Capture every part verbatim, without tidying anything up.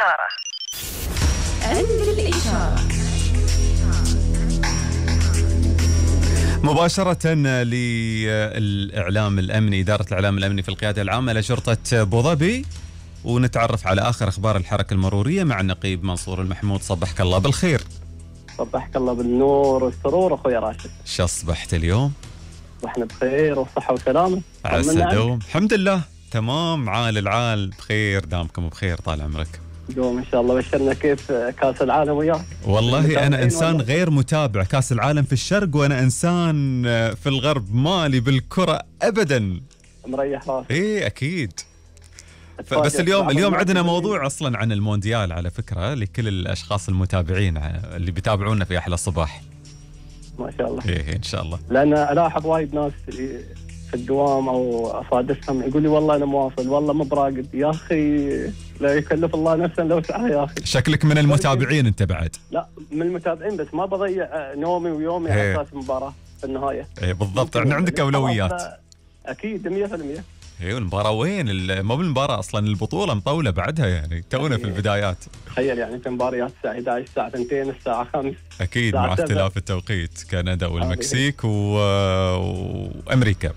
الإشارة. عند الإشارة مباشرة للإعلام الأمني، إدارة الإعلام الأمني في القيادة العامة لشرطة أبو ظبي، ونتعرف على آخر أخبار الحركة المرورية مع النقيب منصور المحمود. صبحك الله بالخير. صبحك الله بالنور والسرور أخوي راشد. شو أصبحت اليوم؟ وإحنا بخير وصحة وسلامة. عسى دوم. الحمد لله تمام، عال العال بخير، دامكم بخير طال عمرك. دوم إن شاء الله. بشرنا كيف كاس العالم وياك؟ والله أنا إنسان غير متابع كاس العالم في الشرق، وأنا إنسان في الغرب مالي بالكرة أبدا. مريح راسك. إيه أكيد. بس اليوم اليوم عندنا موضوع أصلا عن المونديال على فكرة، لكل الأشخاص المتابعين اللي بيتابعونا في أحلى الصباح. ما شاء الله. إيه إن شاء الله. لأن ألاحظ وايد ناس في الدوام أو أصادفهم يقول لي والله أنا مواصل، والله مو براقد. يا أخي لا يكلف الله نفسا لو سعى يا أخي. شكلك من المتابعين أنت بعد. لا من المتابعين، بس ما بضيع نومي ويومي على أساس المباراة في النهاية. إيه بالضبط، يعني عندك أولويات. أكيد مية بالمية. ايوه المباراة وين؟ مو بالمباراة اصلا، البطولة مطولة بعدها، يعني تونا في البدايات. تخيل يعني في مباريات الساعة إحدى عشر، الساعة اثنين، الساعة خمسة. اكيد مع اختلاف التوقيت، كندا والمكسيك و... وامريكا.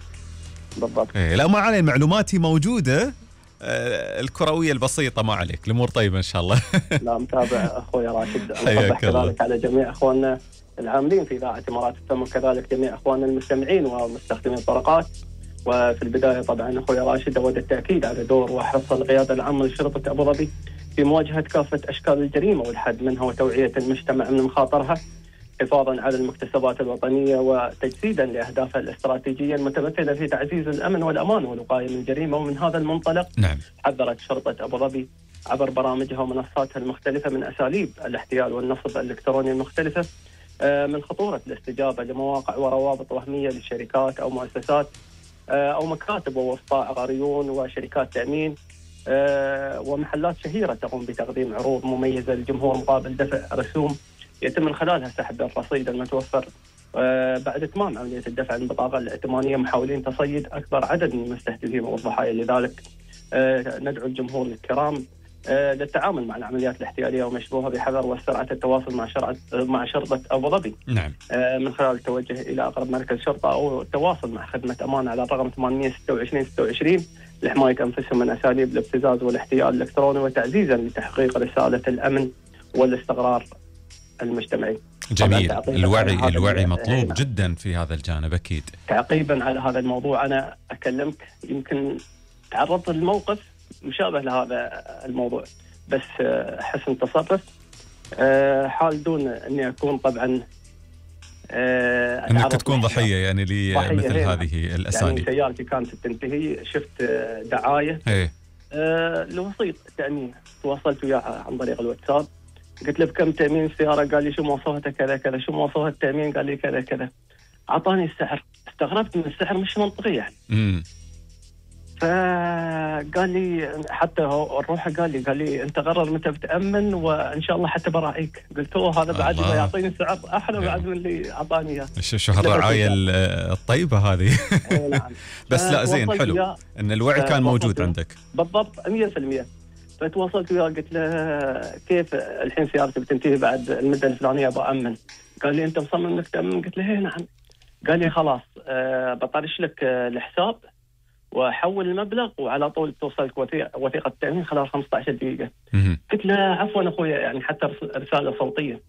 بالضبط. إيه لا ما علي، معلوماتي موجودة الكروية البسيطة، ما عليك، الامور طيبة ان شاء الله. لا متابع اخوي راشد. حياك الله. كذلك على جميع اخواننا العاملين في اذاعة امارات الفم، وكذلك جميع اخواننا المستمعين ومستخدمين الطرقات. وفي البداية طبعا أخوي راشد أود التأكيد على دور وحرص القيادة العامة لشرطة أبو ظبي في مواجهة كافة أشكال الجريمة والحد منها، وتوعية المجتمع من مخاطرها، حفاظا على المكتسبات الوطنية وتجسيدا لأهدافها الاستراتيجية المتمثلة في تعزيز الأمن والأمان والوقاية من الجريمة. ومن هذا المنطلق نعم. حذرت شرطة أبو ظبي عبر برامجها ومنصاتها المختلفة من أساليب الاحتيال والنصب الإلكتروني المختلفة من خطورة الاستجابة لمواقع وروابط وهمية للشركات أو مؤسسات أو مكاتب ووسطاء عقاريون وشركات تأمين ومحلات شهيرة تقوم بتقديم عروض مميزة للجمهور مقابل دفع رسوم يتم من خلالها سحب الرصيد المتوفر بعد إتمام عملية الدفع البطاقة الائتمانية، محاولين تصيد أكبر عدد من المستهدفين والضحايا. لذلك ندعو الجمهور الكرام للتعامل مع العمليات الاحتيالية ومشبوهة بحذر واسترعة التواصل مع شرطة مع شرطة أبو ظبي. نعم. من خلال التوجه إلى أقرب مركز شرطة أو التواصل مع خدمة أمان على الرقم ثمانمئة وستة وعشرين ستة وعشرين لحماية أنفسهم من أساليب الابتزاز والاحتيال الإلكتروني، وتعزيزا لتحقيق رسالة الأمن والاستقرار المجتمعي. جميل. الوعي الوعي مطلوب جدا في هذا الجانب أكيد. تعقيبا على هذا الموضوع أنا أكلمك، يمكن تعرضت للموقف مشابه لهذا الموضوع، بس حسن تصرف حال دون أني أكون طبعا أنك تكون ضحية يعني لمثل هذه الأساليب. يعني سيارتي كانت تنتهي، شفت دعاية ايه لوسيط تأمين، تواصلت وياه عن طريق الواتساب، قلت له بكم تأمين السيارة؟ قال لي شو مواصفاتها كذا كذا. شو مواصفات التأمين؟ قال لي كذا كذا. أعطاني السعر، استغربت من السعر مش منطقي يعني. امم فقال لي حتى الروح قال لي قال لي انت قرر متى بتأمن وان شاء الله حتى براعيك. قلت له هذا بعد ما يعطيني سعر احلى بعد من اللي اعطاني اياه. شو هالرعايه الطيبه هذه. نعم. بس لا زين حلو ان الوعي كان موجود عندك. بالضبط مية بالمية. فتواصلت وياه قلت له كيف الحين سيارتي بتنتهي بعد المده الفلانيه بأمن؟ قال لي انت مصمم انك تأمن؟ قلت له هي نعم. قال لي خلاص أه بطرش لك الحساب وحول المبلغ وعلى طول توصلك وثيقة التأمين خلال خمسة عشر دقيقة. قلت له عفوا أخويا، يعني حتى رسالة صوتية.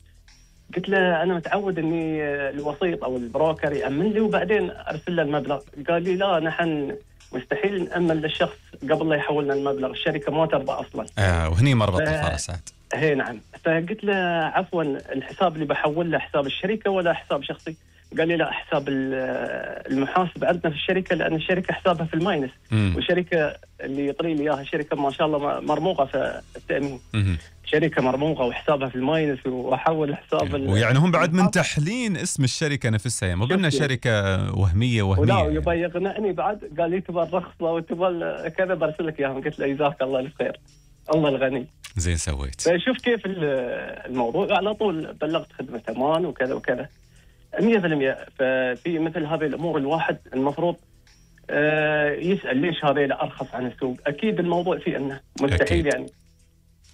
قلت له أنا متعود أني الوسيط أو البروكر يأمن لي وبعدين أرسل له المبلغ. قال لي لا، نحن مستحيل نأمن للشخص قبل لا يحولنا المبلغ، الشركة ما ترضى أصلا. آه وهني مربط الفرس عاد. هي نعم. فقلت له عفوا الحساب اللي بحول له حساب الشركة ولا حساب شخصي؟ قال لي لا، حساب المحاسب عندنا في الشركة، لأن الشركة حسابها في الماينس، والشركة اللي يطري لي إياها شركة ما شاء الله مرموقة في التأمين. مم. شركة مرموقة وحسابها في الماينس، وأحول حساب ويعني هم بعد من تحلين اسم الشركة نفسها، يعني مو قلنا شركة وهمية وهمية. ولا يبغى يقنعني بعد، قال لي تبغى الرخصة وتبغى كذا برسل لك إياهم. قلت له جزاك الله الخير، الله الغني. زين سويت. فشوف كيف الموضوع، على طول بلغت خدمة أمان وكذا وكذا مية بالمية. ففي مثل هذه الأمور الواحد المفروض يسأل ليش هذا أرخص عن السوق. أكيد الموضوع فيه أنه مستحيل أكيد. يعني